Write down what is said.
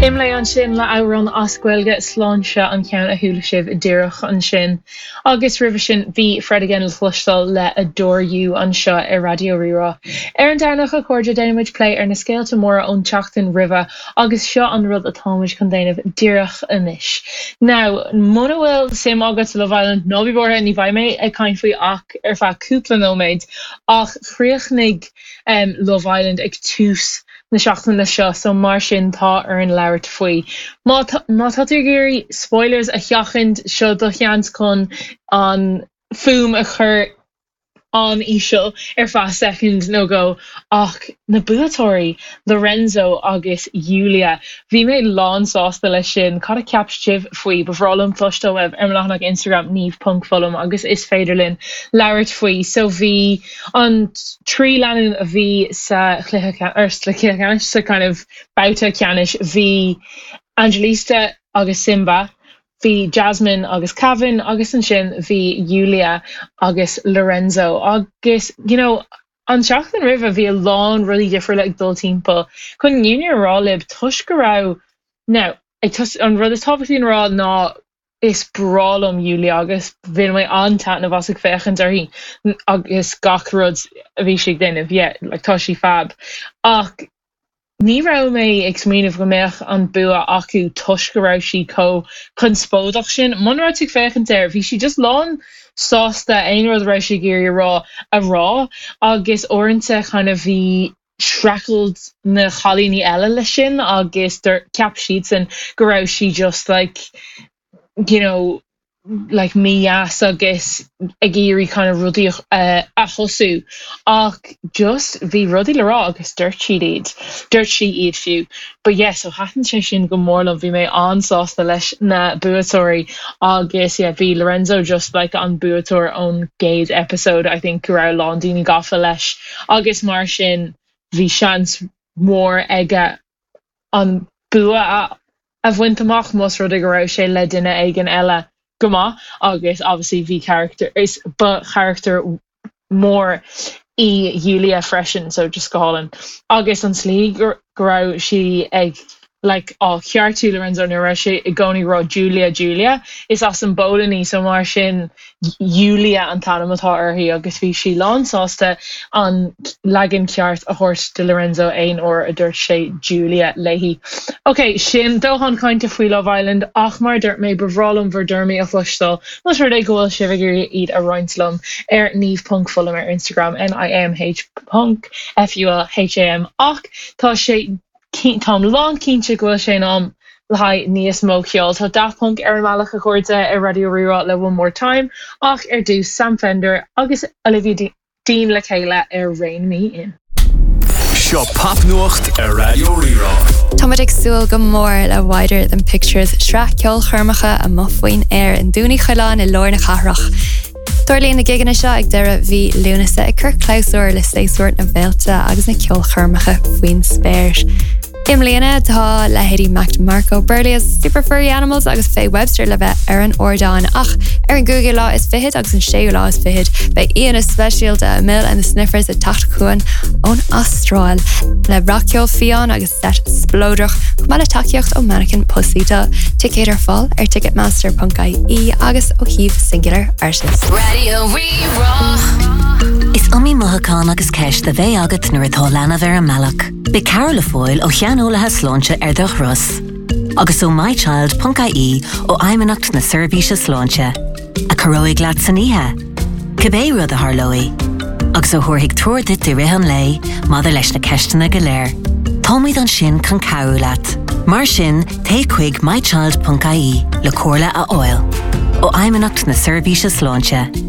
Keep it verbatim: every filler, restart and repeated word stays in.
Imlé ansin le amhrán as Gaeilge sláinte an ceann a chuala sibh díreach ansin. Agus roimhe sin bhí Fred again le cloisteáil le Adore You anseo ar Raidió Rí-Rá. Ar an Domhnach a chairde déanaimid plé ar na scéalta móra ón tseachtain roimhe agus seo an rud atáimid chun déanamh díreach anois. Now muna bhfuil suim agat Love Island ná bí buartha ní bheidh mé ag caint faoi ach ar feadh cúpla nóiméad ach chríochnaigh um, Love Island ag tús na seachtaine seo so mar sin tá orainn labhairt faoi. Má má tá tú ag iarraidh spoilers a sheachaint seo do sheans chun an fuaim a chur an íseal ar feadh second nó dhó ach na buaiteoirí Lorenzo agus Julia bhí mé lán sásta leis sin cad a cheap sibh faoi ba bhreá liom cloisteáil uaibh ar leathanach Instagram niamh.fulham agus is féidir linn labhairt faoi so bhí an trí lánúin a bhí sa chluiche ar sa ceannais sa kind of babhta ceannais bhí Angelista agus Simba bhí Jasmine agus Kevin agus ansin bhí Julia agus Lorenzo agus you know an seachtain roimhe bhí a lán rudaí difriúla ag dul timpeall chun fírinne a rá libh toisc go raibh now ag an rud is tábhachtaí a rá ná is breá liom Julia agus bhain mé an-taitneamh as ag féachaint uirthi agus gach rud a bhí sí ag déanamh yeah like tá sí fab ach ní raibh mé ag smaoineamh go mbeadh an bua acu toisc go raibh sí chomh conspóideach sin Muna raibh tú ag féachaint air bhí sí just lán sásta aon rud a raibh sí ag iarraidh a rá a rá agus uaireanta kind of bhí streachailt na cailíní eile leis sin agus ceap siadsan go raibh sí just like you know like mídheas agus ag iarraidh kind of rudaí uh, a thosú ach just bhí rudaí le rá agus dúirt siad iad dúirt sí iad fiú but yes so thaitin sé sin go mór liom bhí mé an-sásta leis na buaiteoirí agus yeah bhí Lorenzo just like an buaiteoir ón gcéad episode I think go raibh lán daoine gafa leis agus mar sin bhí seans mór aige an bua a a bhaint amach más rud go raibh sé le duine éigin eile go maith agus obviously bhí character is ba character mór í Julia freisin so just go hálainn agus an slí go raibh sí ag like á cheartú Lorenzo nuair raibh sé i gcónaí rá Julia Julia is as an bPolainn í so mar sin Julia an t-ainm atá uirthi agus bhí sí lán sásta an leagan ceart a thabhairt do Lorenzo aon uair a dúirt sé Julia léi. Ok, sin dóthain cainte faoi Love Island ach mar dúirt mé ba bhreá liom bhur dtuairimí a chloisteáil Más rud é go bhfuil sibh ag iarraidh iad a roinnt liom ar niamh.fulham ar Instagram NIAMH ponc FULHAM ach tá sé Táim lán cinnte go bhfuil sé in am le haghaidh níos mó ceoil Tá Daft Punk ar an mbealach a chairde ar Raidió Rí-Rá le One More Time ach ar dtús Sam Fender agus Olivia Dean le chéile ar Rein Me In. Seo popnuacht ar Raidió Rí-Rá. Táimid ag súil go mór le Wider Than Pictures sraith ceolchoirmeacha amuigh faoin aer i nDún Uí Choileáin i lár na cathrach. Tarlaíonn na gigeanna seo ag deireadh mhí Lúnasa ag cur clabhsúr le séasúr na bhféilte agus na ceolchoirmeacha faoin spéir. I mbliana tá leithéidí Mac DeMarco Berlioz, Super Furry Animals agus Faye Webster le bheith ar an ardán ach ar an gcúigiú lá is fiche agus an séú lá is fiche beidh aíonna speisialta Amyl and the Sniffers ag teacht chugainn ón Astráil le rac-cheol fiáin agus set spleodrach chomh maith le tacaíocht ó Mannequin Pussy tá ticéid ar fáil ar ticketmaster.ie agus ó shuíomh Singular Artist. Radio Rí-Rá. Is iomaí mothúchán agus ceist a bheidh agat nuair atá leanbh ar an mbealach. Beidh cabhair le fáil ó shaineolaithe sláinte ar do thuras. Agus ó mychild.ie ó Fheidhmeannacht na Seirbhíse Sláinte, a chabhróidh leat san oíche. Cibé rud a tharlóidh, agus a thabharfaidh treoir duit i rith an lae maidir leis na ceisteanna go léir. Táimid ansin chun cabhrú leat. Mar sin téigh chuig mychild.ie le comhairle a fháil. Ó Fheidhmeannacht na Seirbhíse Sláinte.